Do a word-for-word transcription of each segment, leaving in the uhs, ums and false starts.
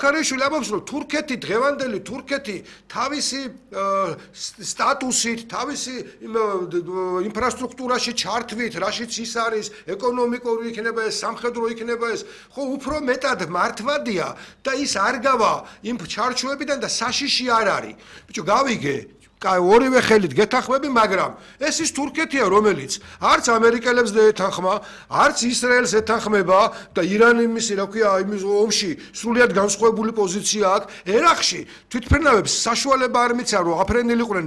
ქარეშვილი ამბობს რომ თურქეთი დღევანდელი თურქეთი თავისი სტატუსით, თავისი ინფრასტრუქტურაში ჩართვით, რაშიც ის არის, ეკონომიკური იქნება ეს, სამხედრო იქნება ეს, ხო უფრო მეტად მართვადია და ის არ გავა იმ ჩარჩოებიდან და საშიში არ არის. ბიჭო, გავიგე კაი ორივე ხელით გეთანხმები, მაგრამ ეს ის თურქეთია, რომელიც არც ამერიკელებს ეთანხმა, არც ისრაელს ეთანხმება და ირანის, რა ქვია, იმის ომში სრულიად განსხვავებული პოზიცია აქვს. ერაყში თვითმფრინავებს საშუალება არ მიცა, რომ აფრენილიყვნენ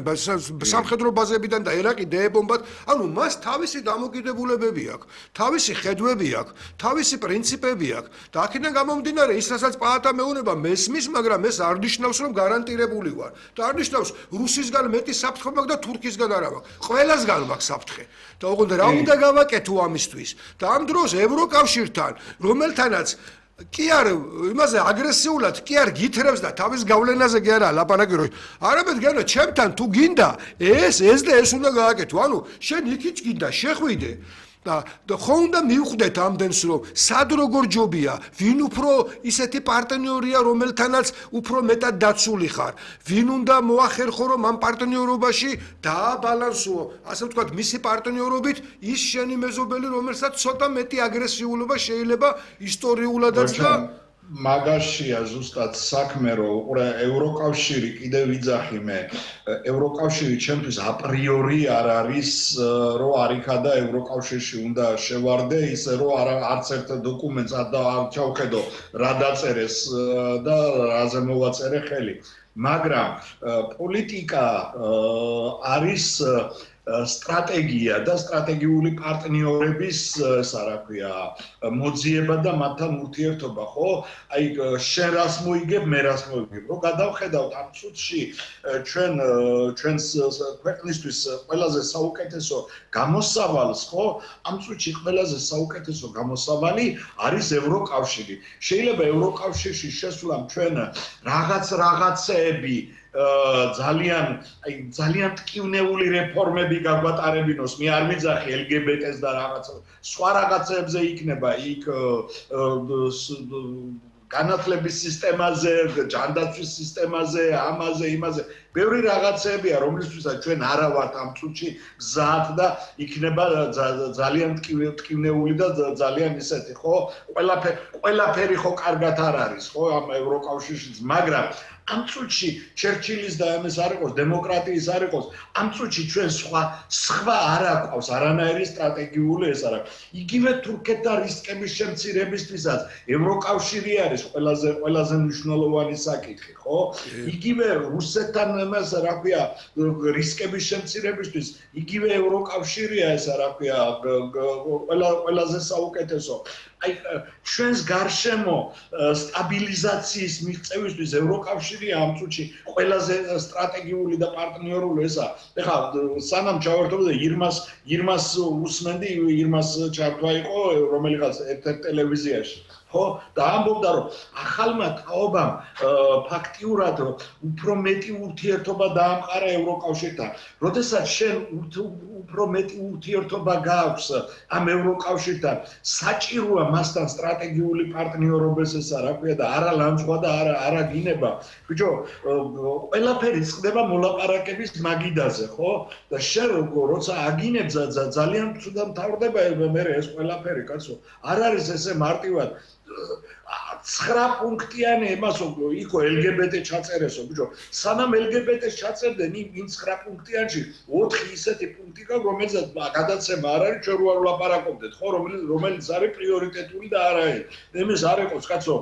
სამხედრო ბაზებიდან და ერაყი დაებომბათ. ანუ მას თავისი დამოკიდებულებები აქვს, თავისი ხედვები აქვს, თავისი პრინციპები აქვს და აქედან გამომდინარე, ის რასაც პაატა მეუნება მესმის, მაგრამ ეს არ ნიშნავს, რომ გარანტირებული ვარ და არ ნიშნავს რუსის მეტი საფრთხე მაქვს და თურქისგან არა მაქვს. ყველასგან მაქვს საფრთხე. და ოღონდ რა უნდა გავაკეთო ამისთვის? და ამ დროს ევროკავშირთან, რომელთანაც კი არ იმაზე აგრესიულად კი არ გითხრებს და თავის გავლენაზე კი არა ლაპარაკი რომ არამედ გენა ჩემთან თუ გინდა ეს ეს და ეს უნდა გააკეთო. ანუ შენ იქით გინდა შეხვიდე და ხო უნდა მივხვდეთ ამდენს რომ სად როგორ ჯობია, ვინ უფრო ისეთი პარტნიორია, რომელთანაც უფრო მეტად დაცული ხარ, ვინ უნდა მოახერხო რომ ამ პარტნიორობაში დააბალანსო, ასე ვთქვათ, მისი პარტნიორობით ის შენი მეზობელი, რომელსაც ცოტა მეტი აგრესიულობა შეიძლება ისტორიულადაც და მაგაშია ზუსტად საქმე რომ უყურე ევროკავშირი კიდევ ვიძახი მე ევროკავშირი ჩემთვის აპრიორი არ არის რომ არ იქა და ევროკავშირში უნდა შევარდე ისე რომ არც ერთ დოკუმენტს არ ჩავხედო რა დაწერეს და რაზე მოვაწერე ხელი მაგრამ პოლიტიკა არის სტრატეგია და სტრატეგიული პარტნიორების ესა რა ქვია მოძიება და მათთან ურთიერთობა ხო აი შენ რას მოიგებ მე რას მოიგებ რომ გადავხედავთ ამ წუთში ჩვენ ჩვენს ქვეყნისთვის ყველაზე საუკეთესო გამოსავალს ხო ამ წუთში ყველაზე საუკეთესო გამოსავალი არის ევროკავშირი შეიძლება ევროკავშირში შესვლამ ჩვენ რაღაც რაღაცეები ძალიან აი ძალიან ტკივნეული რეფორმები გაგვატარებინოს მე არ მიძახი ელ გი ბი ტეს და რაღაც სხვა რაღაცებზე იქნება იქ განათლების სისტემაზე, ჯანდაცვის სისტემაზე, ამაზე, იმაზე ბევრი რაღაცებია, რომლისთვისაც ჩვენ არა ვართ ამ წუთში გზად და იქნება ძალიან ტკივნეული და ძალიან ისეთი, ხო? ყველაფერი ყველაფერი ხო კარგად არ არის, ხო, ამ ევროკავშირშიც, მაგრამ ამ წუთში ჩერჩილის და ამის არ იყოს, დემოკრატიის არ იყოს, ამ წუთში ჩვენ სხვა სხვა არ აქვს, არანაირი სტრატეგიული ეს არ აქვს. იგივე თურქეთთან რისკების შემცირებისთვისაც ევროკავშირი არის ყველაზე ყველაზე მნიშვნელოვანი საკითხი, ხო? იგივე რუსეთთან მას რა ქვია რისკების შემცირებისთვის იგივე ევროკავშირია ესა რა ქვია ყველაზე საუკეთესო აი ჩვენს გარშემო სტაბილიზაციის მიღწევისთვის ევროკავშირია ამ წუთში ყველაზე სტრატეგიული და პარტნიორული ესა. ეხლა სანამ ჩავერთობდი ირმას ირმას უსმენდი ირმას ჩართვა იყო რომელიღაც ერთ-ერთ ტელევიზიაში. ხო და ამბობდა რომ ახალმა თაობამ ფაქტიურად უფრო მეტი ურთიერთობა დაამყარა ევროკავშირთან. როდესაც შენ უფრო მეტი ურთიერთობა გააქვს ამ ევროკავშირთან, საჭიროა მასთან სტრატეგიული პარტნიორობის ესა რა ქვია და არა ლანძღვა და არა არა გინება. ბიჭო, ყველაფერი ხდება მოლაპარაკების მაგიდაზე, ხო? და შენ როცა აგინებ ძალიან ცუდად მთავრდება მე ეს ყველაფერი, კაცო. არ არის ესე მარტივად ცხრა პუნქტიანი იმას იქო ელ გი ბი ტე ჩაწერესო ბიჭო სანამ ელ გი ბი ტეს ჩაწერდნენ იმ ცხრა პუნქტიანში ოთხი ისეთი პუნქტი გაქვს რომელზეც გადაცემა არ არის ჩვენ რო ვლაპარაკობდეთ ხო რომელიც რომელიც არის პრიორიტეტული და არა იმის არ იყოს კაცო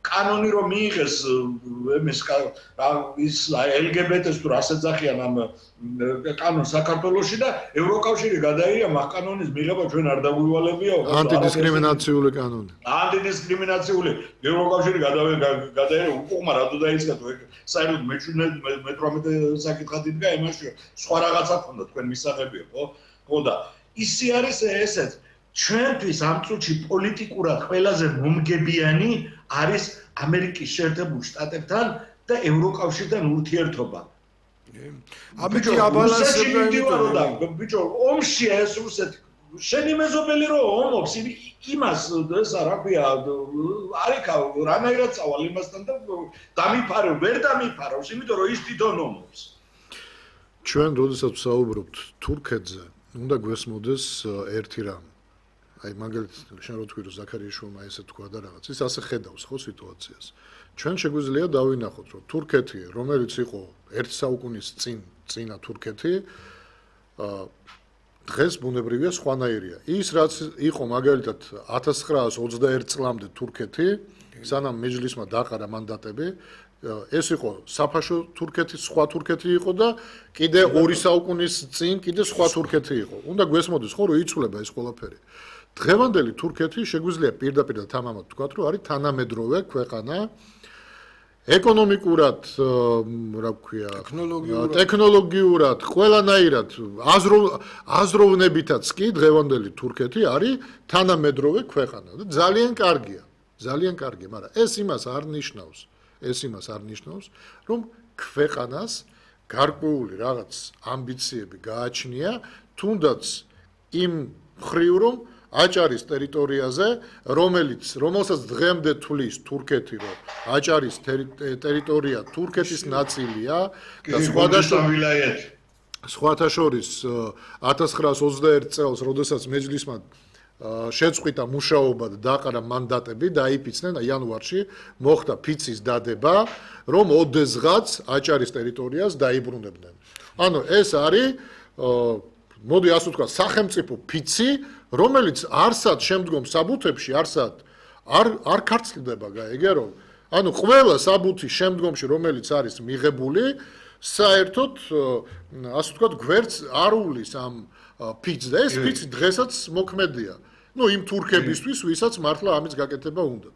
კანონი რომ მიიღეს იმის ის ელ გი ბი ტეს თუ რას ეძახიან ამ კანონს საქართველოში და ევროკავშირი გადაიღია მაგ კანონის მიღება ჩვენ არ დაგვივალებია ანტიდისკრიმინაციული კანონი ანტიდისკრიმინაციული ევროკავშირი გადაიღია უკუღმა რატო დაიწყეთ საერთოდ მე თვრამეტე საკითხად იდგა იმაში სხვა რაღაცა ქონდა თქვენ მისაღებია ხო ხო და ისი არის ესეც ჩვენთვის ამ წუთში პოლიტიკურად ყველაზე მომგებიანი არის ამერიკის შეერთებულ შტატებთან და ევროკავშირთან ურთიერთობა. ამიტომ აბალანსებდა იმიტომ ბიჭო ომშია ეს რუსეთი შენი მეზობელი რო ომობს იმას ესა რა ქვია არიქა რანაირად წავალ იმასთან და დამიფარო ვერ დამიფარავს იმიტომ რომ ის თვითონ ომობს ჩვენ როდესაც ვსაუბრობთ თურქეთზე უნდა გვესმოდეს ერთი რამ აი მაგალითად შენ რო თქვი რომ ზაქარიაშვილმა ესე თქვა და რაღაც ის ასე ხედავს ხო სიტუაციას ჩვენ შეგვიძლია დავინახოთ რომ თურქეთი რომელიც იყო ერთ საუკუნის წინ წინა თურქეთი დღეს ბუნებრივია სხვანაირია. ის რაც იყო მაგალითად ათას ცხრაას ოცდაერთ წლამდე თურქეთი, სანამ მეჯლისმა დაყარა მანდატები, ეს იყო საფაშო თურქეთის სხვა თურქეთი იყო და კიდე ორი საუკუნის წინ კიდე სხვა თურქეთი იყო. უნდა გვესმოდეს ხო რომ იცვლება ეს ყველაფერი. დღევანდელი თურქეთი შეგვიძლია პირდაპირ და თამამად ვთქვათ რომ არის თანამედროვე ქვეყანა ეკონომიკურად, რა ვქვია, ტექნოლოგიურად, ყველანაირად აზროვნებითაც კი დღევანდელი თურქეთი არის თანამედროვე ქვეყანა და ძალიან კარგია, ძალიან კარგია, მაგრამ ეს იმას არ ნიშნავს, ეს იმას არ ნიშნავს, რომ ქვეყანას გარკვეული რაღაც ამბიციები გააჩნია, თუნდაც იმ მხრივ რომ აჭარის ტერიტორიაზე, რომელიც რომელსაც დღემდე თვლის თურქეთი, რომ აჭარის ტერიტორია თურქეთის ნაწილია და სხვათა შორის ათას ცხრაას ოცდაერთ წელს, როდესაც მეჯლისმა შეწყვიტა მუშაობა და დაყარა მანდატები და აიფიცნენ იანვარში მოხდა ფიცის დადება, რომ ოდესღაც აჭარის ტერიტორიას დაიბრუნებდნენ. ანუ ეს არის მოდი ასე ვთქვა, სახელმწიფო ფიცი, რომელიც არსად შემდგომ საბუთებში არსად არ არ ქართლდება, გაიგერო? ანუ ყველა საბუთი შემდგომში, რომელიც არის მიღებული, საერთოდ ასე ვთქვა, გვერდს არ უვლის ამ ფიცს და ეს ფიცი დღესაც მოქმედია. ნუ იმ თურქებისთვის, ვისაც მართლა ამის გაკეთება უნდა.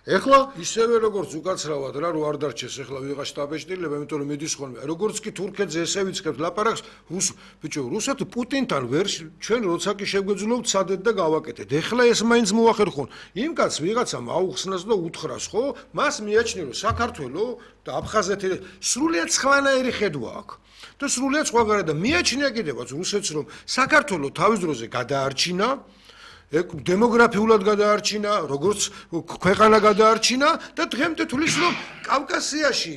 ეხლა ისევე როგორც უკაცრავად რა რო არ დარჩეს ეხლა ვიღა შტაბეჭდილება, იმიტომ რომ მიდის ხოლმე. როგორც კი თურქეთზე ესე ვიცხებთ ლაპარაკს, რუს ბიჭო, რუსეთი პუტინთან ვერ ჩვენ როცა კი შეგვეძლოთ სადეთ და გავაკეთეთ. ეხლა ეს მაინც მოახერხონ. იმ კაც ვიღაცამ აუხსნას და უთხრას, ხო? მას მიაჩნია რომ საქართველოს და აფხაზეთი სრულიად სხვანაირი ხედვა აქვს. და სრულიად სხვაგანაა და მიაჩნია კიდევაც რუსეთს რომ საქართველოს თავის დროზე გადაარჩინა დემოგრაფიულად გადაარჩინა, როგორც ქვეყანა გადაარჩინა და დღემდე თulis რომ კავკასიაში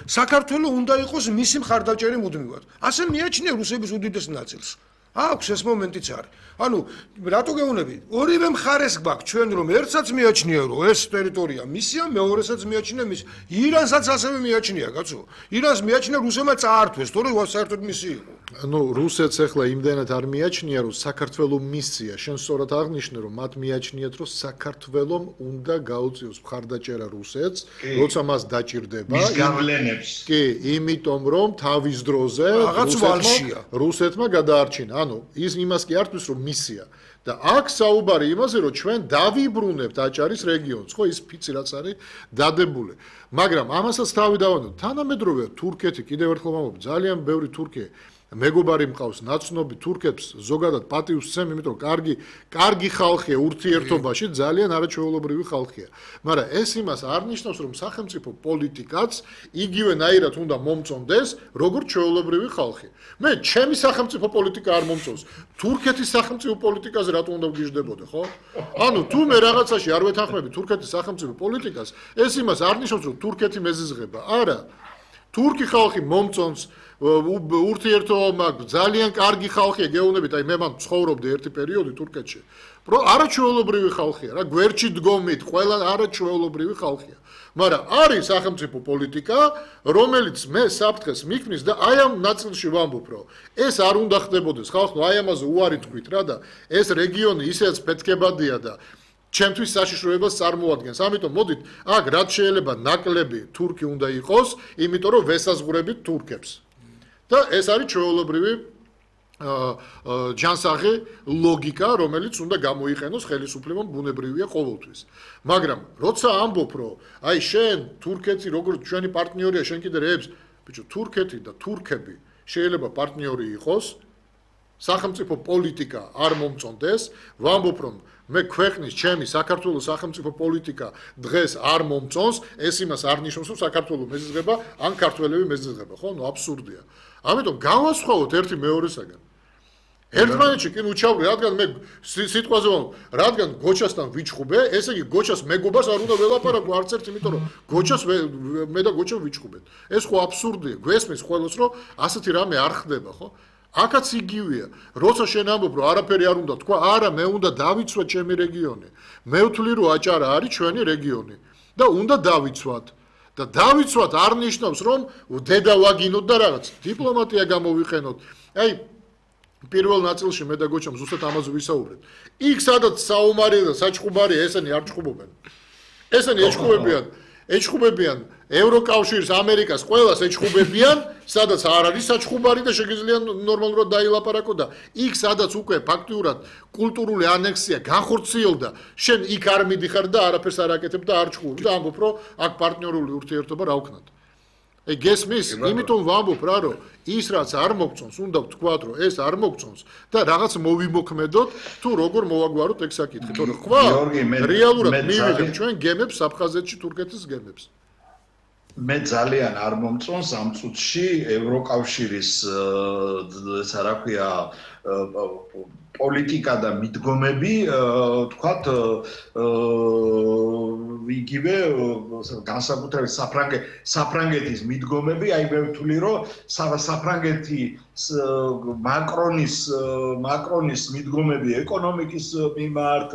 საქართველოს უნდა იყოს მისი მხარდაჭერი მუდმივად. ასე მიაჩნია რუსების უდიდეს ნაწილს. აქვს ეს მომენტიც არის. ანუ რატო გეუბნები? ორივე მხარეს გვაქვს ჩვენ რომ ერთსაც მიაჩნია რომ ეს ტერიტორია მისია, მეორესაც მიაჩნია მის. ირანსაც ასევე მიაჩნია, კაცო. ირანს მიაჩნია რუსებმა წაართვეს, თორე საერთოდ მისი იყო. ანუ რუსეთს ახლა იმდენად არ მიაჩნია რომ საქართველოს მისია, შენ სწორად აღნიშნე რომ მათ მიაჩნიათ რომ საქართველოს უნდა გაუწიოს მხარდაჭერა რუსეთს, როცა მას დაჭირდება. მის გავლენებს. კი, იმიტომ რომ თავის დროზე რაღაც ვალშია. რუსეთმა გადაარჩინა. ანუ ის იმას კი ართვის რომ მისია და აქ საუბარი იმაზე რომ ჩვენ დავიბრუნებთ აჭარის რეგიონს, ხო ის ფიცი რაც არის დადებული. მაგრამ ამასაც თავი დავანოთ, თანამედროვე თურქეთი კიდევ ერთხელ ვამბობ, ძალიან ბევრი თურქი მეგობარი მყავს ნაცნობი თურქებს ზოგადად პატივს სცემ, იმიტომ რომ კარგი კარგი ხალხია ურთიერთობაში, ძალიან არაჩვეულებრივი ხალხია. მაგრამ ეს იმას არ ნიშნავს, რომ სახელმწიფო პოლიტიკაც იგივენაირად უნდა მომწონდეს, როგორც ჩვეულებრივი ხალხი. მე ჩემი სახელმწიფო პოლიტიკა არ მომწონს. თურქეთის სახელმწიფო პოლიტიკაზე რატო უნდა ვგიჟდებოდე, ხო? ანუ თუ მე რაღაცაში არ ვეთანხმები თურქეთის სახელმწიფო პოლიტიკას, ეს იმას არ ნიშნავს, რომ თურქეთი მეზიზღება. არა. თურქი ხალხი მომწონს ურთიერთობა ძალიან კარგი ხალხია, გეუბნებით, აი მე მან ცხოვრობდი ერთი პერიოდი თურქეთში. არაჩვეულებრივი ხალხია, რა გვერდში დგომით, ყველა არაჩვეულებრივი ხალხია. მაგრამ არის სახელმწიფო პოლიტიკა, რომელიც მე საფრთხეს მიქმნის და აი ამ ნაწილში ვამბობ, რომ ეს არ უნდა ხდებოდეს. ხალხო, აი ამაზე უარი თქვით რა და ეს რეგიონი ისეც ფეთქებადია და ჩემთვის საშიშროებას წარმოადგენს. ამიტომ მოდით, აქ რაც შეიძლება ნაკლები თურქი უნდა იყოს, იმიტომ რომ ვესაზღვრებით თურქებს. და ეს არის ჩვეულებრივი ჯანსაღი ლოგიკა, რომელიც უნდა გამოიყენოს ხელისუფლებამ, ბუნებრივია ყოველთვის. მაგრამ როცა ამბობ, რომ აი შენ თურქეთი როგორც ჩვენი პარტნიორია, შენ კიდე რეებს, ბიჭო, თურქეთი და თურქები შეიძლება პარტნიორი იყოს, სახელმწიფო პოლიტიკა არ მომწონდეს, ვამბობ, რომ მე ქვეყნის ჩემი საქართველოს სახელმწიფო პოლიტიკა დღეს არ მომწონს, ეს იმას არ ნიშნავს, რომ საქართველოს მეზიზღება ან ქართველები მეზიზღება, ხო? ნუ აბსურდია. ამიტომ გავასხვაოთ ერთი მეორესაგან. ერთმანეთში კი უჩავრი, რადგან მე სიტყვაზე ვამბობ, რადგან გოჩასთან ვიჩხუბე, ესე იგი გოჩას მეგობას არ უნდა ველაპარაკო არც ერთ, იმიტომ რომ გოჩას მე და გოჩა ვიჩხუბეთ. ეს ხო აბსურდია. გვესმის ყველას რომ ასეთი რამე არ ხდება, ხო? აქაც იგივეა. როცა შენ ამბობ, რომ არაფერი არ უნდა თქვა, არა, მე უნდა დავიცვა ჩემი რეგიონი. მე ვთვლი, რომ აჭარა არის ჩვენი რეგიონი და უნდა დავიცვათ. და დავიცვათ არ ნიშნავს, რომ დედა ვაგინოთ და რაღაც დიპლომატია გამოვიყენოთ. აი პირველ ნაწილში მე და გოჩამ ზუსტად ამაზე ვისაუბრეთ. იქ სადაც საომარია და საჩხუბარია, ესენი არ ჩხუბობენ. ესენი ეჩხუბებიან, ეჩხუბებიან ევროკავშირს, ამერიკას, ყველას ეჩხუბებიან, სადაც არ არის საჩხუბარი და შეგიძლია ნორმალურად დაილაპარაკო და იქ სადაც უკვე ფაქტიურად კულტურული ანექსია განხორციელდა, შენ იქ არ მიდიხარ და არაფერს არ აკეთებ და არ ჩხუბობ და ამბობ, რომ აქ პარტნიორული ურთიერთობა რა ვქნათ. Ei gesmis, იმიტომ ვამბობ რა რომ ის რაც არ მოგწონს, უნდა ვთქვათ რომ ეს არ მოგწონს და რაღაც მოვიმოქმედოთ თუ როგორ მოვაგვაროთ ეგ საკითხი. თორე ხვა რეალურად მივიღებ ჩვენ გემებს აფხაზეთში, თურქეთის გემებს. მე ძალიან არ მომწონს ამ წუთში ევროკავშირის ეს რა ქვია პოლიტიკა და მიდგომები, თქვათ, იგივე განსაკუთრებით საფრანგე საფრანგეთის მიდგომები, აი მე ვთვლი, რომ საფრანგეთი მაკრონის მაკრონის მიდგომები ეკონომიკის მიმართ,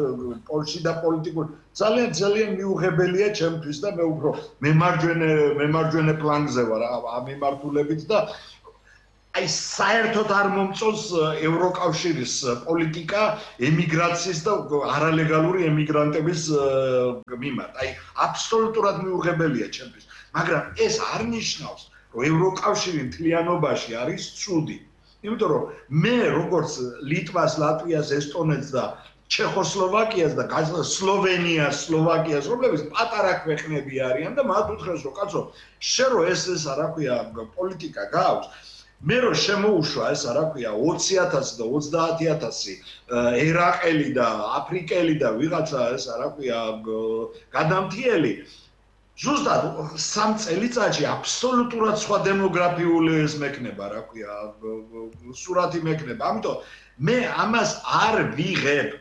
პოლში და პოლიტიკურ ძალიან ძალიან მიუღებელია ჩემთვის და მე უფრო მემარჯვენე მემარჯვენე პლანზე ვარ ამ მიმართულებით და აი საერთოდ არ მომწონს ევროკავშირის პოლიტიკა ემიგრაციის და არალეგალური ემიგრანტების მიმართ. აი აბსოლუტურად მიუღებელია ჩემთვის. მაგრამ ეს არ ნიშნავს, რომ ევროკავშირი მთლიანობაში არის ცუდი. იმიტომ რომ მე როგორც ლიტვას, ლატვიას, ესტონეთს და ჩეხოსლოვაკიას და სლოვენიას, სლოვაკიას, რომლებიც პატარა ქვეყნები არიან და მათ უთხრეს, რომ კაცო, შენ რო ეს ეს რა ქვია პოლიტიკა გაქვს მე რო შემოუშვა ეს რა ქვია ოცი ათასი და ოცდაათი ათასი ერაყელი და აფრიკელი და ვიღაცა ეს რა ქვია გადამთიელი ზუსტად სამ წელიწადში აბსოლუტურად სხვა დემოგრაფიული ეს მექნება რა ქვია სურათი მექნება ამიტომ მე ამას არ ვიღებ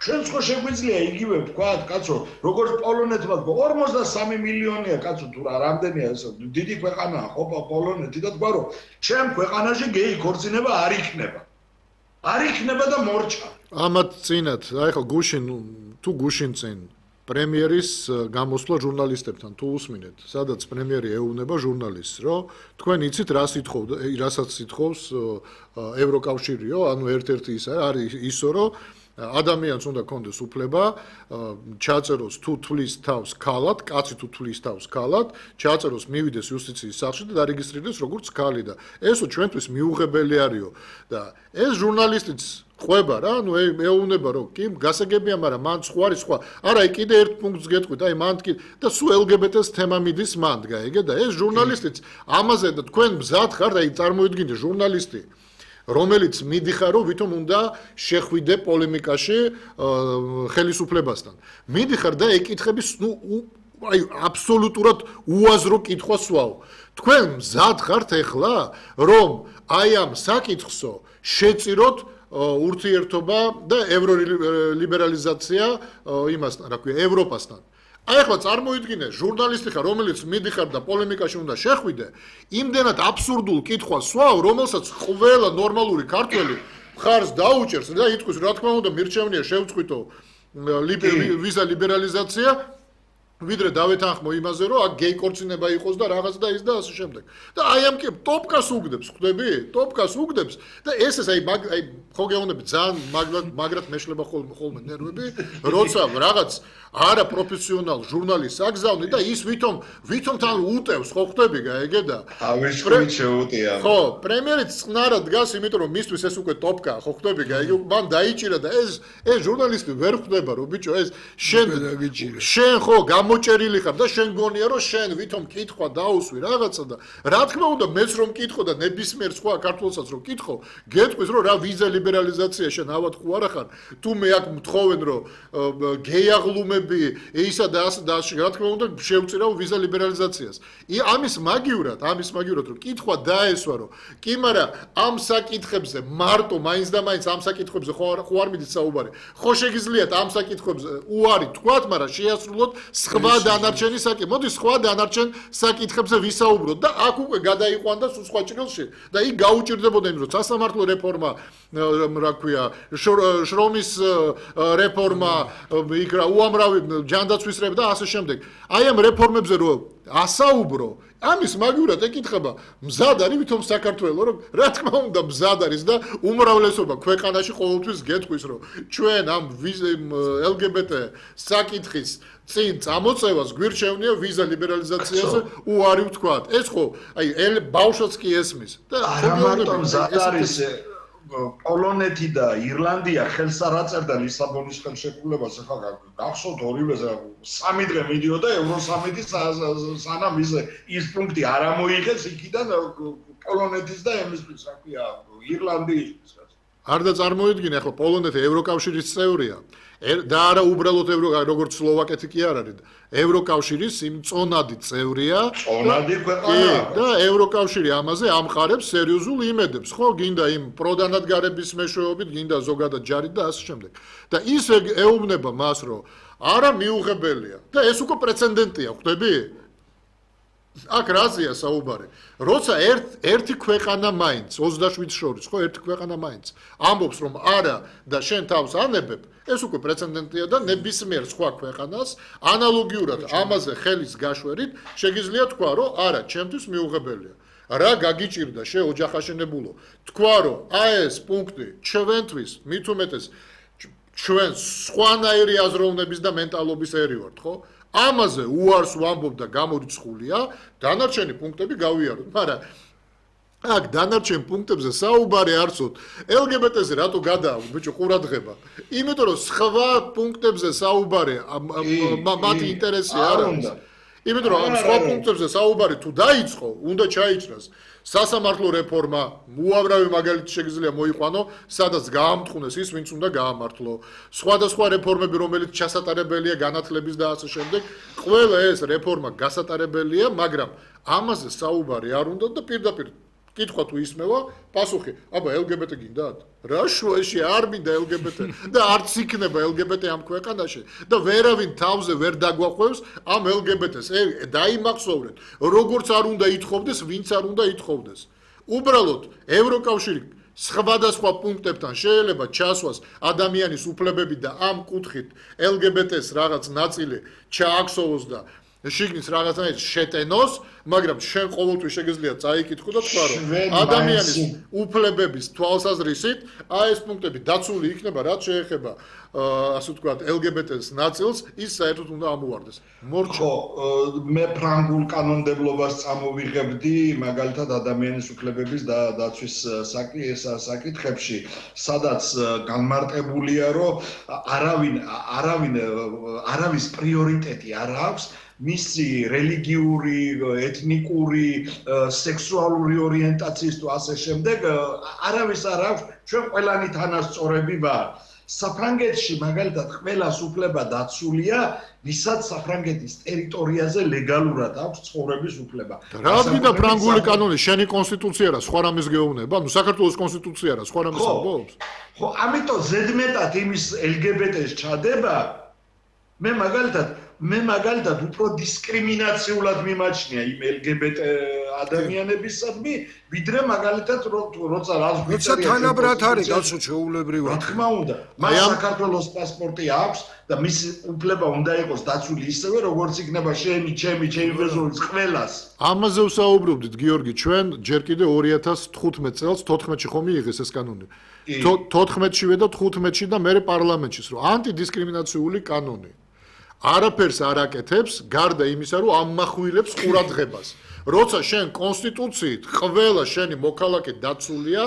ჩვენც ხო შეგვიძლია იგივე ვთქვათ კაცო როგორც პოლონეთმა თქვა ორმოცდასამი მილიონია კაცო თუ რა რამდენია ეს დიდი ქვეყანაა ხო პოლონეთი და თქვა რომ ჩემ ქვეყანაში გეი ქორწინება არ იქნება არ იქნება და მორჩა ამათ წინათ აი ხო გუშინ თუ გუშინ წინ პრემიერის გამოსვლა ჟურნალისტებთან თუ უსმინეთ სადაც პრემიერი ეუბნება ჟურნალისტს რომ თქვენ იცით რა სიტყვა რასაც სიტყავს ევროკავშირიო ანუ ერთ-ერთი ის არის ისო რომ ადამიანს უნდა კონდეს უფლება ჩაწეროს თუ თვლის თავს ქალად, კაცი თუ თვლის თავს ქალად, ჩაწეროს მივიდეს იუსტიციის სახლში და დარეგისტრირდეს როგორც ქალი და ესო ჩვენთვის მიუღებელი არისო და ეს ჟურნალისტიც ყვება რა, ну ეუბნება რომ კი გასაგებია, მაგრამ მან სხვა არის სხვა. არა, აი კიდე ერთ პუნქტს გეტყვით, აი მან კი და სულ ელ გი ბი ტი-ს თემა მიდის მან, გაიგე და ეს ჟურნალისტიც ამაზე და თქვენ მზად ხართ, აი წარმოიდგინეთ ჟურნალისტი რომელიც მიდიხარ რომ ვითომ უნდა შეხვიდე პოლემიკაში ხელისუფლებასთან. მიდიხარ და ეკითხების ნუ აი აბსოლუტურად უაზრო კითხვას ვაო. თქვენ მზად ხართ ეხლა რომ აი ამ საკითხსო შეწიროთ ურთიერთობა და ევროლიბერალიზაცია იმასთან, რა ქვია, ევროპასთან. აი ახლა წარმოიდგინე ჟურნალისტი ხარ რომელიც მიდიხარ და პოლემიკაში უნდა შეხვიდე იმდენად აბსურდულ კითხვას სვავ რომელსაც ყველა ნორმალური ქართველი მხარს დაუჭერს და იტყვის რა თქმა უნდა მირჩევნია შევწყვიტო ვიზა ლიბერალიზაცია ვიდრე დავეთანხმო იმაზე რომ აქ გეი ქორწინება იყოს და რაღაც და ის და ასე შემდეგ და აი ამ კი ტოპკას უგდებს ხვდები ტოპკას უგდებს და ეს ეს აი აი ხო გეუბნები ძალიან მაგრად მაგრად მეშლება ხოლმე ნერვები როცა რაღაც არა პროფესიონალ ჟურნალისტს აგზავნი და ის ვითომ ვითომ თან უტევს ხო ხვდები გაიგე და ავიშქვით შეუტია ხო პრემიერიც წყნარად დგას იმიტომ რომ მისთვის ეს უკვე ტოპკა ხო ხვდები გაიგე მან დაიჭირა და ეს ეს ჟურნალისტი ვერ ხვდება რომ ბიჭო ეს შენ შენ ხო გამო გამოჭერილი ხარ და შენ გონია რომ შენ ვითომ კითხვა დაუსვი რაღაცა და რა თქმა უნდა მეც რომ კითხო და ნებისმიერ სხვა ქართველსაც რომ კითხო გეტყვის რომ რა ვიზა ლიბერალიზაცია შენ ავად ხო არა ხარ თუ მე აქ მთხოვენ რომ გეიაღლუმები ისა და ასე და ასე რა თქმა უნდა შევწირავ ვიზა ლიბერალიზაციას ამის მაგივრად ამის მაგივრად რომ კითხვა დაესვა რომ კი მაგრამ ამ საკითხებზე მარტო მაინც და მაინც ამ საკითხებზე ხო არ მიდით საუბარი ხო შეგიძლიათ ამ საკითხებზე უარი თქვათ მაგრამ შეასრულოთ სხვა დანარჩენი საკითხი მოდი სხვა დანარჩენ საკითხებზე ვისაუბროთ და აქ უკვე გადაიყვანდა სულ სხვა ჭრილში და იქ გაუჭირდებოდა იმ რომ სასამართლო რეფორმა რა ქვია შრომის რეფორმა იქ რა უამრავი ჯანდაცვის რეფორმა და ასე შემდეგ აი ამ რეფორმებზე რომ ასაუბრო ამის მაგივრად ეკითხება მზად არის ვითომ საქართველოს რომ რა თქმა უნდა მზად არის და უმრავლესობა ქვეყანაში ყოველთვის გეტყვის რომ ჩვენ ამ ელ გი ბი ტე საკითხის წინ წამოწევას გვირჩევნია ვიზა ლიბერალიზაციაზე უარი ვთქვათ ეს ხო აი ბავშვს კი ესმის და არა მარტო მზად არის პოლონეთი და ირლანდია ხელს არ აწერდა ლისაბონის ხელშეკრულებას ახლა გახსოვთ ორივე სამი დღე მიდიოდა ევროსამიტის სანამ ის ის პუნქტი არ ამოიღეს იქიდან პოლონეთის და ემისთვის რა ქვია ირლანდიის არ და წარმოიდგინე ახლა პოლონეთი ევროკავშირის წევრია და არა უბრალოდ როგორც სლოვაკეთი კი არ არის ევროკავშირის იმ წონადი წევრია წონადი ქვეყანა და ევროკავშირი ამაზე ამყარებს სერიოზულ იმედებს ხო გინდა იმ პროდანადგარების მეშვეობით გინდა ზოგადად ჯარით და ასე შემდეგ და ის ეუბნება მას რომ არა მიუღებელია და ეს უკვე პრეცედენტია ხვდები აქ რაზეა საუბარი როცა ერთი ქვეყანა მაინც ოცდაშვიდ შორის ხო ერთი ქვეყანა მაინც ამბობს რომ არა და შენ თავს ანებებ ეს უკვე პრეცედენტია და ნებისმიერ სხვა ქვეყანას ანალოგიურად ამაზე ხელის გაშვერით შეგიძლია თქვა რომ არა ჩემთვის მიუღებელია რა გაგიჭირდა შე ოჯახაშენებულო თქვა რომ აი ეს პუნქტი ჩვენთვის მით უმეტეს ჩვენ სხვანაირი აზროვნების და მენტალობის ერი ვართ ხო ამაზე უარს ვამბობ და გამორიცხულია დანარჩენი პუნქტები გავიაროთ მაგრამ აქ დანარჩენ პუნქტებზე საუბარი არცოთ ელ გი ბი ტე-ზე რატო გადააქვს ბიჭო ყურადღება იმიტომ რომ სხვა პუნქტებზე საუბარი მათი ინტერესი არ არის იმიტომ რომ ამ სხვა პუნქტებზე საუბარი თუ დაიწყო უნდა ჩაიჭრას სასამართლო რეფორმა უამრავი მაგალითი შეგიძლია მოიყვანო სადაც გაამტყუნეს ის ვინც უნდა გაამართლო სხვადასხვა რეფორმები რომელიც ჩასატარებელია განათლების და ასე შემდეგ ყველა ეს რეფორმა გასატარებელია მაგრამ ამაზე საუბარი არ უნდა და პირდაპირ კითხვა თუ ისმევა პასუხი აბა ელ გი ბი ტე გინდათ რა შუაში არ მინდა ელ გი ბი ტე და არც იქნება ელ გი ბი ტე ამ ქვეყანაში და ვერავინ თავზე ვერ დაგვაყვევს ამ ელ გი ბი ტეს დაიმახსოვრეთ როგორც არ უნდა ითხოვდეს ვინც არ უნდა ითხოვდეს უბრალოდ ევროკავშირი სხვადასხვა პუნქტებთან შეიძლება ჩასვას ადამიანის უფლებები და ამ კუთხით ელ გი ბი ტეს რაღაც ნაწილი ჩააქსოვოს და შიგნის რაღაცნაირად შეტენოს, მაგრამ შენ ყოველთვის შეგიძლია წაიკითხო და თქვა რომ ადამიანის უფლებების თვალსაზრისით აი ეს პუნქტები დაცული იქნება, რაც შეეხება ასე ვთქვათ ელ გი ბი ტეს ნაწილს, ის საერთოდ უნდა ამოვარდეს. ხო, მე ფრანგულ კანონმდებლობას წამოვიღებდი, მაგალითად ადამიანის უფლებების და დაცვის საკითხებში, სადაც განმარტებულია, რომ არავინ არავინ არავის პრიორიტეტი არ აქვს მისი რელიგიური, ეთნიკური, სექსუალური ორიენტაციის თუ ასე შემდეგ, არავის არ აქვს, ჩვენ ყველანი თანასწორები ვარ. საფრანგეთში მაგალითად ყველას უფლება დაცულია, ვისაც საფრანგეთის ტერიტორიაზე ლეგალურად აქვს ცხოვრების უფლება. რა გინდა ფრანგული კანონი, შენი კონსტიტუცია რა, სხვა რამეს გეუბნება? ანუ საქართველოს კონსტიტუცია რა, სხვა რამეს ამბობს? ხო, ამიტომ ზედმეტად იმის ელ გი ბი ტეს ჩადება, მე მაგალითად მე მაგალითად უფრო დისკრიმინაციულად მიმაჩნია იმ ელ გი ბი ტე ადამიანებისადმი, ვიდრე მაგალითად როცა რას როცა თანაბრად არის გასულ შეუულებრივად. რა თქმა უნდა, მას საქართველოს პასპორტი აქვს და მისი უფლება უნდა იყოს დაცული ისევე, როგორც იქნება შენი, ჩემი, ჩემი ბეზოვის ყველას. ამაზე ვსაუბრობდით, გიორგი, ჩვენ ჯერ კიდე ორი ათას თხუთმეტ წელს თოთხმეტში ხომ მიიღეს ეს კანონი. თოთხმეტშივე და თხუთმეტში და მერე პარლამენტშიც, რომ ანტიდისკრიმინაციული კანონი. არაფერს არ აკეთებს, გარდა იმისა, რომ ამმახვილებს ყურადღებას. როცა შენ კონსტიტუციით ყველა შენი მოქალაქე დაცულია,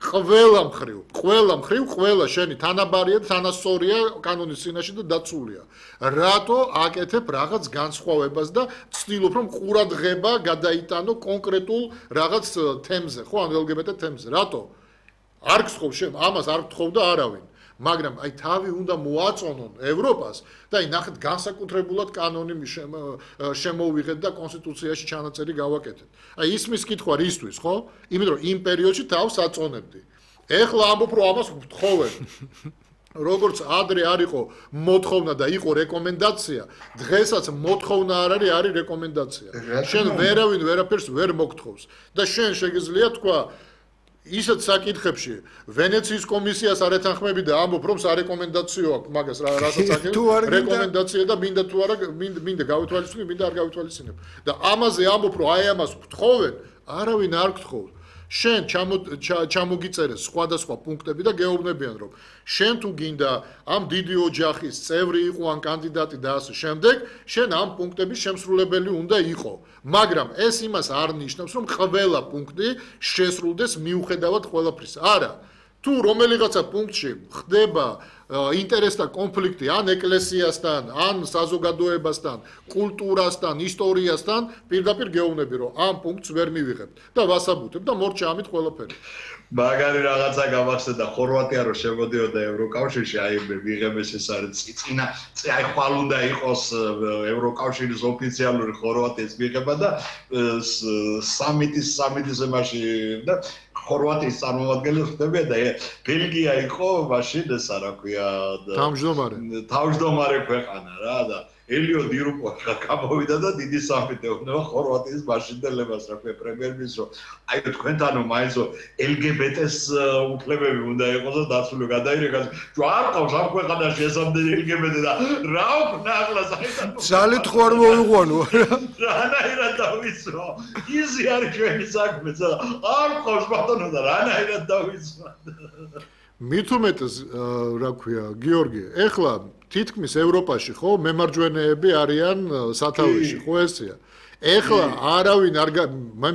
ყველა მხრივ, ყველა მხრივ, ყველა შენი თანაბარია და თანასწორია კანონის წინაშე და დაცულია. რატო აკეთებ რაღაც განსხვავებას და ცდილობ რომ ყურადღება გადაიტანო კონკრეტულ რაღაც თემზე, ხო, ან ელ გი ბე ტე თემზე. რატო? არ გსხოვ შენ, ამას არ გთხოვდა არავინ. მაგრამ აი თავი უნდა მოაწონონ ევროპას და აი ნახეთ განსაკუთრებულად კანონი შემოვიღეთ და კონსტიტუციაში ჩანაწერი გავაკეთეთ. აი ისმის კითხვა რისთვის, ხო? იმიტომ რომ იმ პერიოდში თავს აწონებდი. ეხლა ამბობ რომ ამას გთხოვენ. როგორც ადრე არ იყო მოთხოვნა და იყო რეკომენდაცია, დღესაც მოთხოვნა არ არის, არის რეკომენდაცია. შენ ვერავინ ვერაფერს ვერ მოგთხოვს და შენ შეგიძლია თქვა ისეთ საკითხებში ვენეციის კომისიას არ ეთანხმები და ამბობ რომ სარეკომენდაციო აქვს მაგას რასაც აკეთებ რეკომენდაცია და მინდა თუ არა მინდა გავითვალისწინებ მინდა არ გავითვალისწინებ და ამაზე ამბობ რომ აი ამას გთხოვენ არავინ არ გთხოვს შენ ჩამოგიწერეს სხვადასხვა პუნქტები და გეუბნებიან რომ შენ თუ გინდა ამ დიდი ოჯახის წევრი იყო ან კანდიდატი და ასე შემდეგ შენ ამ პუნქტების შემსრულებელი უნდა იყო მაგრამ ეს იმას არ ნიშნავს რომ ყველა პუნქტი შესრულდეს მიუხედავად ყველაფრის არა თუ რომელიღაცა პუნქტში ხდება ინტერესთა კონფლიქტი ან ეკლესიასთან ან საზოგადოებასთან კულტურასთან ისტორიასთან პირდაპირ გეუბნები რომ ამ პუნქტს ვერ მივიღებთ და ვასაბუთებ და მორჩა ამით ყველაფერი მაგარი რაღაცა გამახსენდა ხორვატია რომ შემოდიოდა ევროკავშირში აი ვიღებეს ეს არის წინა აი ხვალ უნდა იყოს ევროკავშირის ოფიციალური ხორვატიის მიღება და სამიტის სამიტის ემაში და ხორვატიის წარმომადგენელი ხდებიან და ბელგია იყო მაშინ ეს რა ქვია თავმჯდომარე თავმჯდომარე ქვეყანა რა და ელიო დირუპო გამოვიდა და დიდი სამიტი ეუბნება ხორვატიის მაშინდელებას რა ქვია პრემიერ-მინისტრს აი თქვენთანო მაინც ელ გი ბე ტეს უფლებები უნდა იყოს და დაცული გადაირეკოს ჯო არ ყავს ამ ქვეყანაში ესამდე ელ გი ბე ტე და რა ვქნა ახლა საერთოდ ძალით ხო არ მოვიყვანო რანაირად დავიცვა იზი არის ჩვენი საქმე არ ყავს ბატონო და რანაირად დავიცვა მით უმეტეს რა ქვია გიორგი ეხლა თითქმის ევროპაში ხო მემარჯვენეები არიან სათავეში ხო ესეა ეხლა არავინ არ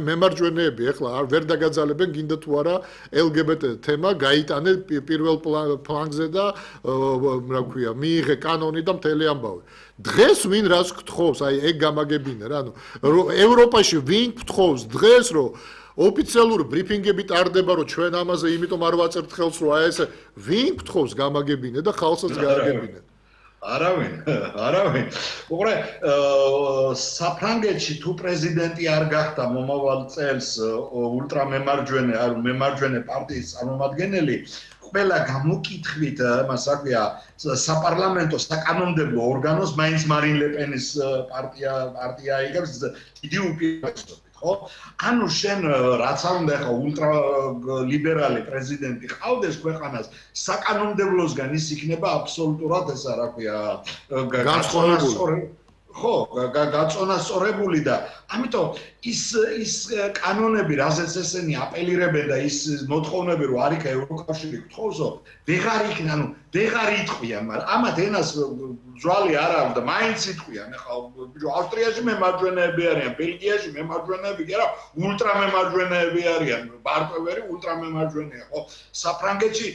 მემარჯვენეები ეხლა არ ვერ დაგაძალებენ გინდა თუ არა ელ გი ბე ტე თემა გაიტანე პირველ პლანზე და რა ქვია მიიღე კანონი და მთელი ამბავი დღეს ვინ რას გთხოვს აი ეგ გამაგებინე რა ანუ ევროპაში ვინ გთხოვს დღეს რომ ოფიციალური ბრიფინგები ტარდება რომ ჩვენ ამაზე იმიტომ არ ვაწერთ ხელს რომ აი ესე ვინ გთხოვს გამაგებინე და ხალხსაც გააგებინე არავინ არავინ უყურე საფრანგეთში თუ პრეზიდენტი არ გახდა მომავალ წელს ულტრამემარჯვენე არ მემარჯვენე პარტიის წარმომადგენელი ყველა გამოკითხვით მას აქვია საპარლამენტო საკანონმდებლო ორგანოს მაინც მარინ ლე პენის პარტია პარტია იგებს დიდი უპირატესობით ხო ანუ შენ რაც არ უნდა ხა ულტრა ლიბერალი პრეზიდენტი ყავდეს ქვეყანას საკანონმდებლოსგან ის იქნება აბსოლუტურად ესა რა ქვია განსხვავებული ხო გაწონასწორებული და ამიტომ ის ის კანონები რაზეც ესენი აპელირებენ და ის მოთხოვნები რომ არ იქა ევროკავშირი გთხოვსო ვეღარ იქნა ანუ ვეღარ იტყვიან მაგრამ ამათ ენას ძვალი არ აქვს და მაინც იტყვიან ახლა ავსტრიაში მემარჯვენეები არიან ბელგიაში მემარჯვენეები კი არა ულტრამემარჯვენეები არიან ბარტოვერი ულტრამემარჯვენეა ხო საფრანგეთში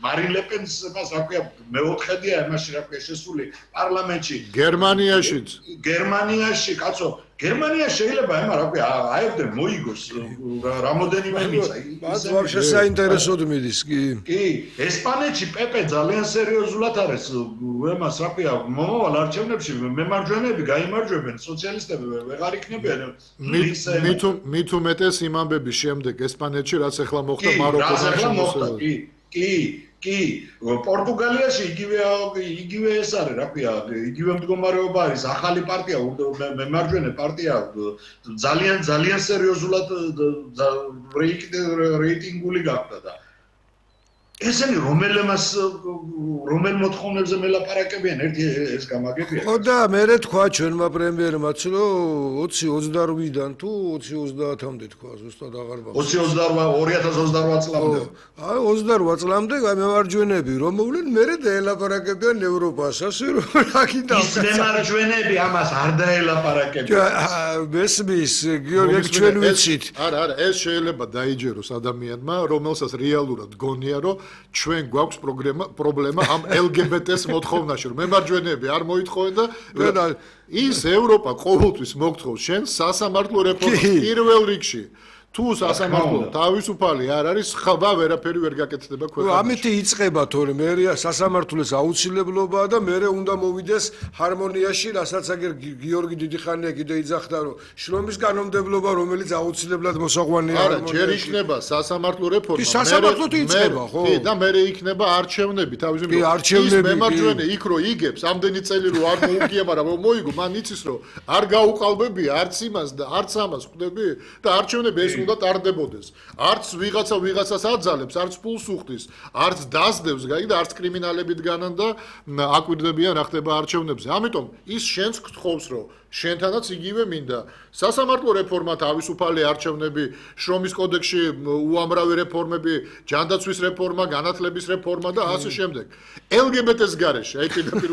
მარინ ლე პენს მას რა ქვია მეოთხედია იმაში რა ქვია შესული პარლამენტში გერმანიაშიც გერმანიაში კაცო გერმანია შეიძლება ემა რა ქვია აებდე მოიგოს რამოდენიმე მიწა მას ვაფშე საინტერესოდ მიდის კი კი ესპანეთში პეპე ძალიან სერიოზულად არის ემას რა ქვია მომავალ არჩევნებში მემარჯვენეები გაიმარჯვებენ სოციალისტები ვეღარ იქნებიან მით უმეტეს იმ ამბების შემდეგ ესპანეთში რაც ახლა მოხდა მაროკოში კი კი პორტუგალიაში იგივე იგივე ეს არის რა ქვია იგივე მდგომარეობა არის ახალი პარტია მემარჯვენე პარტია ძალიან ძალიან სერიოზულად რეიტინგული გახდა და ესენი რომელმას რომელ მოთხოვნებზე მელაპარაკებიან ერთი ეს გამაგებია. ხო და მე თქვა ჩვენმა პრემიერმაც რომ ოცი ოცდაოთხიდან თუ ოცი ოცდაათამდე თქვა ზუსტად აღარ მახსოვს. ოცი ორი ათას ოცდაოთხ წლამდე. აი ოცდაოთხ წლამდე გამემარჯვენები რომ მოვლენ მე დაელაპარაკებიან ევროპას ასე რომ რაკიდა ის მემარჯვენები ამას არ დაელაპარაკებიან. მესმის გიორგი ჩვენ ვიცით. არა არა ეს შეიძლება დაიჯეროს ადამიანმა რომელსაც რეალურად გონია რომ ჩვენ გვაქვს პრობლემა ამ ელ გი ბი ტი-ს მოთხოვნაში რომ მემარჯვენეები არ მოითხოვენ და ის ევროპა ყოველთვის მოგთხოვს შენ სასამართლო რეფორმას პირველ რიგში თუ სასამართლო თავისუფალი არ არის ხება ვერაფერი ვერ გაკეთდება ქვეყანაში. ამით იწყება თორე მერია სასამართლოს აუცილებლობაა და მერე უნდა მოვიდეს ჰარმონიაში, რასაც აგერ გიორგი დიდიხანია კიდე იძახდა რომ შრომის კანონმდებლობა რომელიც აუცილებლად მოსაყვანია არა ჯერ იქნება სასამართლო რეფორმა კი სასამართლოდ იწყება ხო კი და მერე იქნება არჩევნები თავის კი არჩევნები მემარჯვენე იქ რო იგებს ამდენი წელი რო არ მოუგია მაგრამ მოიგო მან იცის რომ არ გაუყალბებია არც იმას და არც ამას ხვდები და არჩევნები ეს უნდა ტარდებოდეს. არც ვიღაცა ვიღაცას აძალებს, არც ფულს უხდის, არც დასდევს, გაიგე და არც კრიმინალებით განან და აკვირდებიან რა ხდება არჩევნებზე. ამიტომ ის შენს გთხოვს, რომ შენთანაც იგივე მინდა. სასამართლო რეფორმა, თავისუფალი არჩევნები, შრომის კოდექსში უამრავი რეფორმები, ჯანდაცვის რეფორმა, განათლების რეფორმა და ასე შემდეგ. ელ გი ბი ტი-ს გარეშე, აი პირდაპირ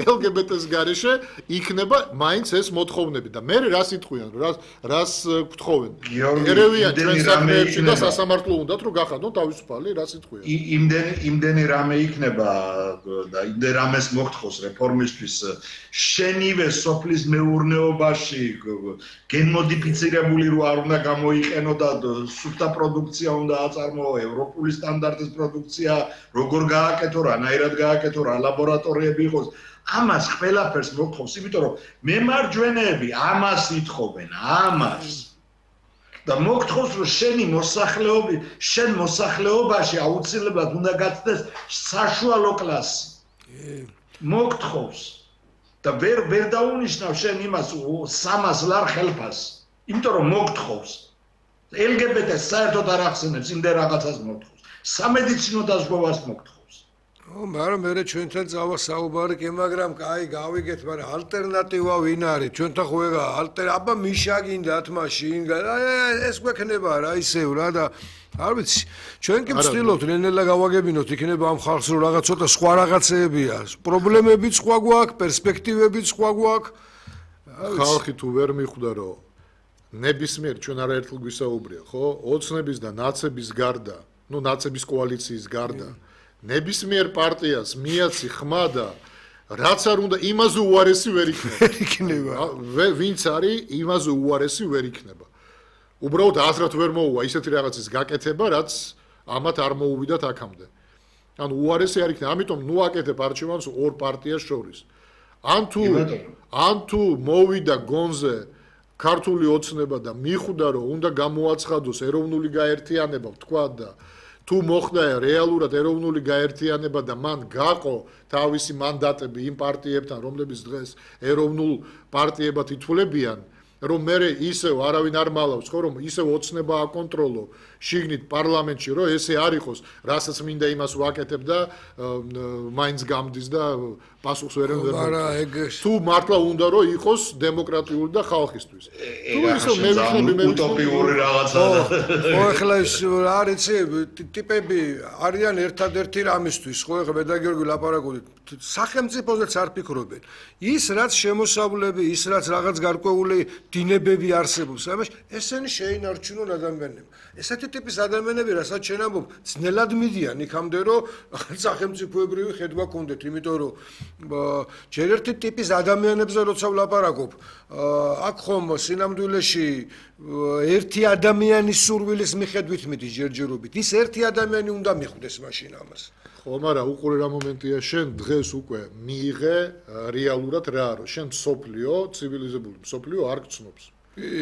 ელ გი ბი ტი-ს გარეშე იქნება მაინც ეს მოთხოვნები და მე რას იტყვიან, რას რას გთხოვენ. ერევიან ჩვენ საქმეებში და სასამართლო უნდათ რომ გახადონ თავისუფალი, რას იტყვიან. იმდენი იმდენი რამე იქნება და იმდენ რამეს მოგთხოვს რეფორმისთვის შენივე სოფლის მეურნეობაში გენმოდიფიცირებული რო არ უნდა გამოიყენო და სუფთა პროდუქცია უნდა აწარმოო ევროპული სტანდარტის პროდუქცია როგორ გააკეთო რანაირად გააკეთო რა ლაბორატორიები იყოს ამას ყველაფერს მოგთხოვს იმიტომ რომ მემარჯვენეები ამას ითხოვენ ამას და მოგთხოვს რომ შენი მოსახლეობი შენ მოსახლეობაში აუცილებლად უნდა გაცდეს საშუალო კლასი მოგთხოვს და ვერ ვერ დაუნიშნავ შენ იმას სამას ლარ ხელფას იმიტომ რომ მოგთხოვს ელ გი ბი ტი-ს საერთოდ არ ახსენებს იმდენ რაღაცას მოგთხოვს სამედიცინო დაზღვევას მოგთხოვს ო მაგრამ მე ჩვენთან წავა საუბარი კი მაგრამ კაი გავიგეთ მაგრამ ალტერნატივა ვინ არის ჩვენთან ხო ეგა ალტერ აბა მიშა გინდათ მაშინ ეს გვექნება რა ისევ რა და არ ვიცი ჩვენ კი ვცდილობთ ნელ-ნელა გავაგებინოთ იქნება ამ ხალხს რომ რაღაც ცოტა სხვა რაღაცეებია პრობლემებიც სხვა გვაქვს პერსპექტივებიც სხვა გვაქვს ხალხი თუ ვერ მიხვდა რომ ნებისმიერ ჩვენ არაერთხელ გვისაუბრია ხო ოცნების და ნაცების გარდა ნუ ნაცების კოალიციის გარდა ნებისმიერ პარტიას მიაცი ხმა და რაც არ უნდა იმაზე უარესი ვერ იქნება ვინც არის იმაზე უარესი ვერ იქნება უბრალოდ აზრად ვერ მოუვა ისეთი რაღაცის გაკეთება, რაც ამათ არ მოუვიდათ აქამდე. ანუ უარესი არ იქნება, ამიტომ ნუ აკეთებ არჩევანს ორ პარტიას შორის. ან თუ ან თუ მოვიდა გონზე ქართული ოცნება და მიხვდა რომ უნდა გამოაცხადოს ეროვნული გაერთიანება, თქვა და თუ მოხდა რეალურად ეროვნული გაერთიანება და მან გაყო თავისი მანდატები იმ პარტიებთან, რომლებიც დღეს ეროვნულ პარტიებად ითვლებიან, რომ მე ისევ არავინ არ მალავს, ხო რომ ისევ ოცნება აკონტროლო შიგნით პარლამენტში, რომ ესე არ იყოს, რასაც მინდა იმას ვაკეთებ და მაინც გამდის და პასუხს ვერ ემოწმებს. თუ მართლა უნდა რომ იყოს დემოკრატიული და ხალხისთვის. თუ ისევ მე ვიხდები მე უტოპიური რაღაცა. ხო ახლა ის არის ტიპები არიან ერთადერთი რამისთვის, ხო ახლა მე და გიორგი ლაპარაკობთ სახელმწიფოსაც არ ფიქრობენ. ის რაც შემოსავლები, ის რაც რაღაც გარკვეული დინებები არსებობს, ამაში ესენი შეინარჩუნონ ადამიანებს. ესეთი ტიპის ადამიანები, რასაც შენ ამბობ, ძნელად მიდიან იქამდე, რომ სახელმწიფოებრივი ხედვა გქონდეთ, იმიტომ რომ ჯერ ერთი ტიპის ადამიანებზე როცა ვლაპარაკობ, აქ ხომ სინამდვილეში ერთი ადამიანის სურვილის მიხედვით მიდის ჯერჯერობით. ის ერთი ადამიანი უნდა მიხვდეს მაშინ ამას. ხო, მაგრამ უყურე რა მომენტია, შენ დღეს უკვე მიიღე რეალურად რა არის. შენ სოფლიო, ცივილიზებული სოფლიო არ გწნობს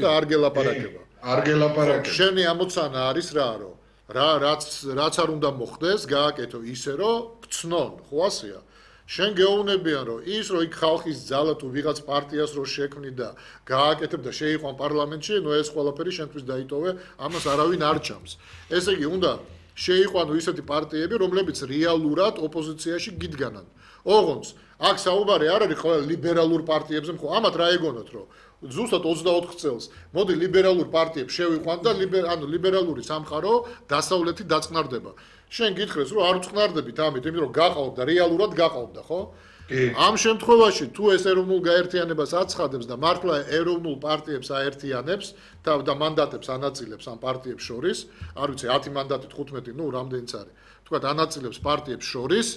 და არ გელაპარაკება. არ გელაპარაკება. შენი ამოცანა არის რა არის? რა რაც რაც არ უნდა მოხდეს, გააკეთო ისე რომ გწნონ, ხო ასეა? შენ გეუბნებიან რომ ის რომ იქ ხალხის ძალა თუ ვიღაც პარტიას რო შექმნი და გააკეთებ და შეიყვან პარლამენტში, ნუ ეს ყველაფერი შენთვის დაიტოვე, ამას არავინ არ ჩამს. ესე იგი უნდა შეიყვანო ისეთი პარტიები, რომლებიც რეალურად ოპოზიციაში გიდგანან. ოღონდ აქ საუბარი არ არის ყველა ლიბერალურ პარტიებზე, ხო, ამათ რა ეგონათ, რომ ზუსტად ოცდაოთხ წელს მოდი ლიბერალურ პარტიებს შევიყვანთ და ანუ ლიბერალური სამყარო დასავლეთი დაწყნარდება. შენ გითხრეს, რომ არ უწყნარდებით ამით, იმიტომ რომ გაყავთ და რეალურად გაყავდა, ხო? ამ შემთხვევაში თუ ეს ეროვნულ გაერთიანებას აცხადებს და მართლა ეროვნულ პარტიებს აერთიანებს და მანდატებს ანაწილებს ამ პარტიებს შორის, არ ვიცი ათი მანდატი თხუთმეტი, ნუ რამდენიც არის. თქვათ ანაწილებს პარტიებს შორის,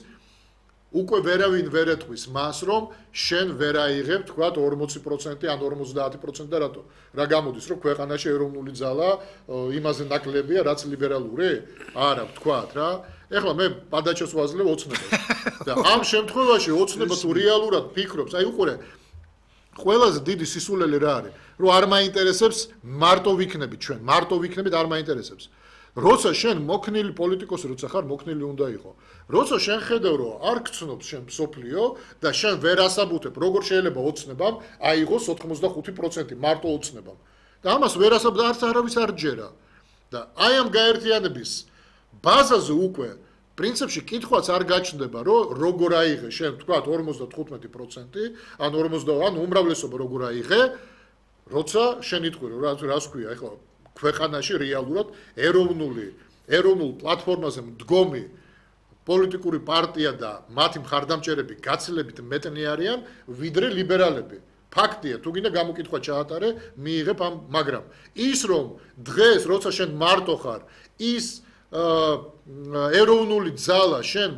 უკვე ვერავინ ვერ ეთქვის მას, რომ შენ ვერ აიღებ, თქვათ ორმოცი პროცენტი ან ორმოცდაათი პროცენტი და რატო? რა გამოდის, რომ ქვეყანაში ეროვნული ძალა იმაზე ნაკლებია, რაც ლიბერალური? არა, თქვათ რა. ეხლა მე პადაჩოს ვაძლევ ოცნებას. და ამ შემთხვევაში ოცნება თუ რეალურად ფიქრობს, აი უყურე, ყველაზე დიდი სისულელი რა არის? რომ არ მაინტერესებს მარტო ვიქნებით ჩვენ, მარტო ვიქნებით არ მაინტერესებს. როცა შენ მოქნილი პოლიტიკოსი, როცა ხარ მოქნილი უნდა იყო. როცა შენ ხედავ, რომ არ გწნობს შენ მსოფლიო და შენ ვერ ასაბუთებ, როგორ შეიძლება ოცნებამ აიღოს ოთხმოცდახუთი პროცენტი მარტო ოცნებამ. და ამას ვერ ასაბუთებ, არც არავის არ ჯერა. და აი ამ გაერთიანების ბაზაზე უკვე პრინციპში კითხვაც არ გაჩნდება, რომ როგორ აიღე შენ თქვათ ორმოცდათხუთმეტი პროცენტი, ან ორმოცდა ან უმრავლესობა როგორ აიღე, როცა შენ იტყვი, რომ რას ქვია, ეხლა ქვეყანაში რეალურად ეროვნული ეროვნულ პლატფორმაზე მდგომი პოლიტიკური პარტია და მათი მხარდამჭერები გაცილებით მეტნი არიან, ვიდრე ლიბერალები. ფაქტია, თუ გინდა გამოკითხვა ჩაატარე, მიიღებ ამ, მაგრამ ის რომ დღეს როცა შენ მარტო ხარ, ის ეროვნული ძალა შენ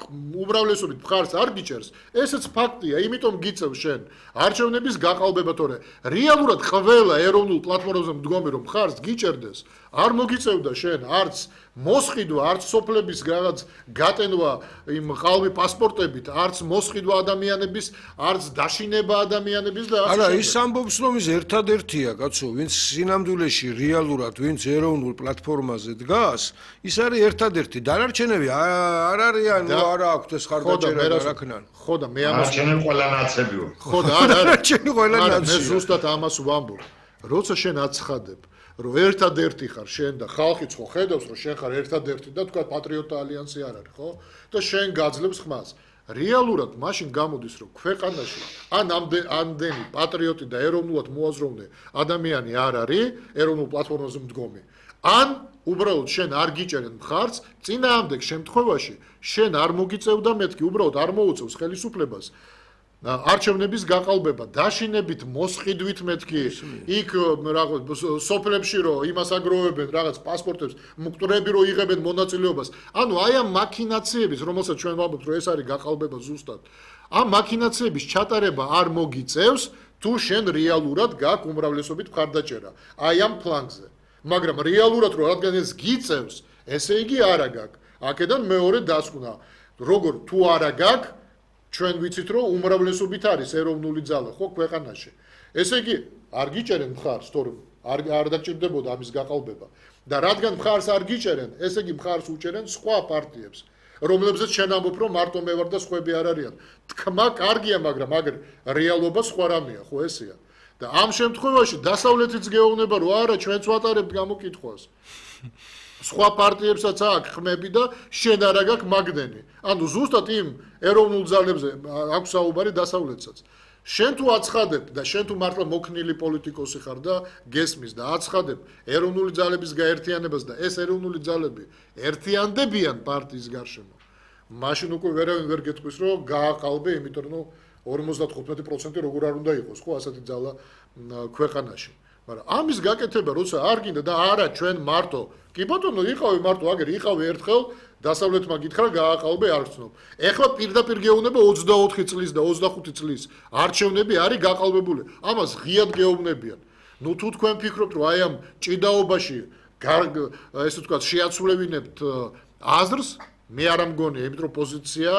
უმრავლესობით მხარს არ გიჭერს, ესეც ფაქტია, იმიტომ გიწევ შენ არჩევნების გაყალბება, თორე რეალურად ყველა ეროვნულ პლატფორმაზე მდგომი რომ მხარს გიჭერდეს, არ მოგიწევდა შენ არც მოსყიდვა, არც სოფლების რაღაც გატენვა იმ ყალბი პასპორტებით, არც მოსყიდვა ადამიანების, არც დაშინება ადამიანების და არა, ის ამბობს რომ ის ერთადერთია, კაცო, ვინც სინამდვილეში რეალურად, ვინც ეროვნულ პლატფორმაზე დგას, ის არის ერთადერთი. დანარჩენები არ არიან, ნუ არა აქვთ ეს ხარდაჭერა და რა ქნან. ხო და მე ამას არჩენები ყველა ნაცები ვარ. ხო და არა, არჩენები ყველა ნაცები. მე ზუსტად ამას ვამბობ. როცა შენ აცხადებ რომ ერთადერთი ხარ შენ და ხალხიც ხო ხედავს რომ შენ ხარ ერთადერთი და თქვა პატრიოტთა ალიანსი არ არის, ხო? და შენ გაძლევს ხმას. რეალურად მაშინ გამოდის რომ ქვეყანაში ან ამდენი პატრიოტი და ეროვნულად მოაზროვნე ადამიანი არ არის ეროვნულ პლატფორმაზე მდგომი. ან უბრალოდ შენ არ გიჭერენ მხარს, წინააღმდეგ შემთხვევაში შენ არ მოგიწევდა მეთქი, უბრალოდ არ მოუწევს ხელისუფლებას. არჩევნების გაყალბება, დაშინებით, მოსყიდვით მეთქი, იქ რაღაც სოფლებში რომ იმას აგროვებენ, რაღაც პასპორტებს, მკვდრები რომ იღებენ მონაწილეობას. ანუ აი ამ მაქინაციების, რომელსაც ჩვენ ვამბობთ, რომ ეს არის გაყალბება ზუსტად. ამ მაქინაციების ჩატარება არ მოგიწევს, თუ შენ რეალურად გაქვს უმრავლესობით მხარდაჭერა. აი ამ ფლანგზე. მაგრამ რეალურად რომ რადგან ეს გიწევს, ესე იგი არა გაქვს. აქედან მეორე დასკვნა, როგორ თუ არა გაქვს ჩვენ ვიცით რომ უმრავლესობით არის ეროვნული ძალა ხო ქვეყანაში. ესე იგი არ გიჭერენ მხარს, თორემ არ არ დაგჭირდებოდა ამის გაყალბება. და რადგან მხარს არ გიჭერენ, ესე იგი მხარს უჭერენ სხვა პარტიებს, რომლებზეც შენ ამბობ რომ მარტო მე ვარ და სხვები არ არიან. თქმა კარგია, მაგრამ აგერ რეალობა სხვა რამეა, ხო ესეა. და ამ შემთხვევაში დასავლეთიც გეუბნება რომ არა, ჩვენც ვატარებთ გამოკითხვას. სხვა პარტიებსაც აქვს ხმები და შენ არა გაქვს მაგდენი. ანუ ზუსტად იმ ეროვნულ ძალებზე აქვს საუბარი დასავლეთსაც. შენ თუ აცხადებ და შენ თუ მართლა მოქნილი პოლიტიკოსი ხარ და გესმის და აცხადებ ეროვნული ძალების გაერთიანებას და ეს ეროვნული ძალები ერთიანდებიან პარტიის გარშემო, მაშინ უკვე ვერავინ ვერ გეტყვის რომ გააყალბე, იმიტომ რომ ორმოცდათხუთმეტი პროცენტი როგორ არ უნდა იყოს ხო ასეთი ძალა ქვეყანაში. მაგრამ ამის გაკეთება როცა არ გინდა და არა ჩვენ მარტო კი ბატონო იყავი მარტო აგერ იყავი ერთხელ დასავლეთმა გითხრა გააყალბე არ გწნობ. ეხლა პირდაპირ გეუბნება ოცდაოთხი წლის და ოცდახუთი წლის არჩევნები არის გაყალბებული. ამას ღიად გეუბნებიან. ნუ თუ თქვენ ფიქრობთ რომ აი ამ ჭიდაობაში ესე ვთქვათ შეაცვლევინებთ აზრს, მე არ ამგონია, იმიტომ რომ პოზიცია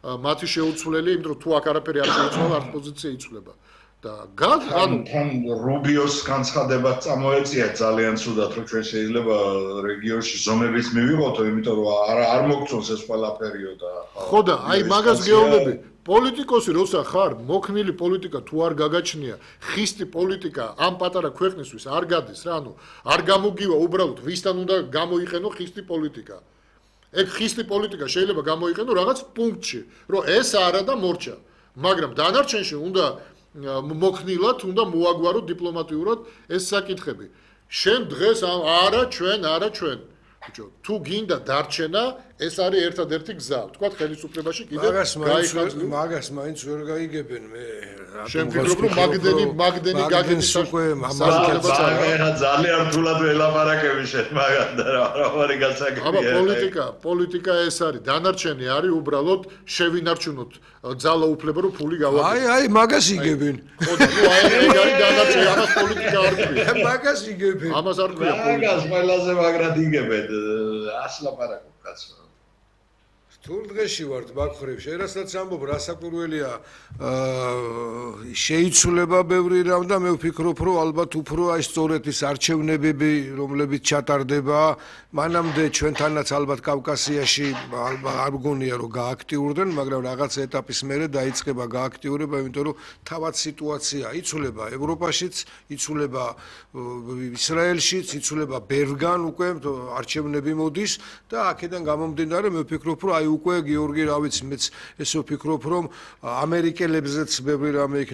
მათი შეუცვლელი, იმიტომ რომ თუ აქ არაფერი არ შეუცვალ, არც პოზიცია იცვლება. და გან ანუ თან რუბიოს განცხადებაც წამოეწია ძალიან ცუდად, რომ ჩვენ შეიძლება რეგიონში ზომებით მივიღოთო, იმიტომ რომ არ არ მოგწონს ეს ყველაფერიო და ხო და აი მაგას გეუბნები, პოლიტიკოსი როცა ხარ, მოქნილი პოლიტიკა თუ არ გაგაჩნია, ხისტი პოლიტიკა ამ პატარა ქვეყნისთვის არ გადის რა, ანუ არ გამოგივა უბრალოდ ვისთან უნდა გამოიყენო ხისტი პოლიტიკა. ეგ ხისტი პოლიტიკა შეიძლება გამოიყენო რაღაც პუნქტში, რომ ეს არა და მორჩა. მაგრამ დანარჩენში უნდა მოქნილად, უნდა მოაგვაროთ დიპლომატიურად ეს საკითხები. შენ დღეს არა ჩვენ, არა ჩვენ. ბიჭო, თუ გინდა დარჩენა, ეს არის ერთადერთი გზა. თქვა ხელისუფლებაში კიდე გაიხაძლო. მაგას მაინც ვერ გაიგებენ მე. შენ ფიქრობ რომ მაგდენი მაგდენი გაგების უკვე მაგა ძალიან რთულად ველაპარაკები შენ მაგან და რა ვარი გასაგებია. აბა პოლიტიკა, პოლიტიკა ეს არის. დანარჩენი არის უბრალოდ შევინარჩუნოთ ძალაუფლება რომ ფული გავაკეთოთ. აი, აი, მაგას იგებენ. ხო და ნუ აი ეგ არის დანარჩენი, ამას პოლიტიკა არ ქვია. მაგას იგებენ. ამას არ ქვია პოლიტიკა. მაგას ყველაზე მაგრად იგებენ. ასლაპარაკო კაცო. თულ დღეში ვართ მაგხრივ, შენ რასაც ამბობ, რა საკვირველია, აა შეიცვლება ბევრი რამ და მე ვფიქრობ, რომ ალბათ უფრო აი სწორედ ის არჩევნებები, რომლებიც ჩატარდება, მანამდე ჩვენთანაც ალბათ კავკასიაში ალბათ არ მგონია რომ გააქტიურდნენ, მაგრამ რაღაც ეტაპის მერე დაიწყება გააქტიურება, იმიტომ რომ თავად სიტუაცია იცვლება ევროპაშიც, იცვლება ისრაელშიც, იცვლება ბევრგან უკვე არჩევნები მოდის და აქედან გამომდინარე მე ვფიქრობ, რომ აი უკვე გიორგი რა ვიცი მეც ესე ვფიქრობ რომ ამერიკელებზეც ბევრი რამე